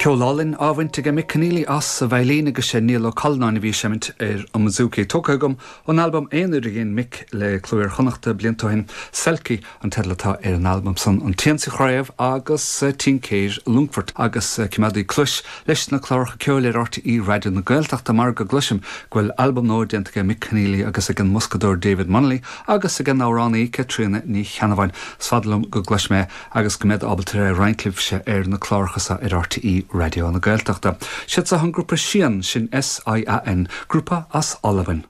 Ceol álainn á bhaint aige Mick Conneely as a veidhlín agus sé Niall Ó Callanáin a bhí ag seimint ar an mbouzouki. Tógtha agam ón albam aonair a dhein Mick le Cló Iar-Chonnachta blianta ó shin, Selkie an teideal atá ar an albam san, An tSiansaí Chraobh agus Tincéir Longfoirt agus coimeádaigí cluais leis na cláracha ceoil ar RTÉ Raidió na Gaeltachta mar go gcloisim go bhfuil albam nua déanta aige Mick Conneely agus ag an mboscadóir David Munnelly agus ag an amhránaí Caitríona Ní Cheannabháin. Is fada liom go gcloisfidh mé agus go mbead ábalta é a roinnt libhse ar na cláracha seo ar RTÉ Raidió na Gaeltachta. Siad seo an grúpa Sian, sin S-I-A-N, grúpa as Albain.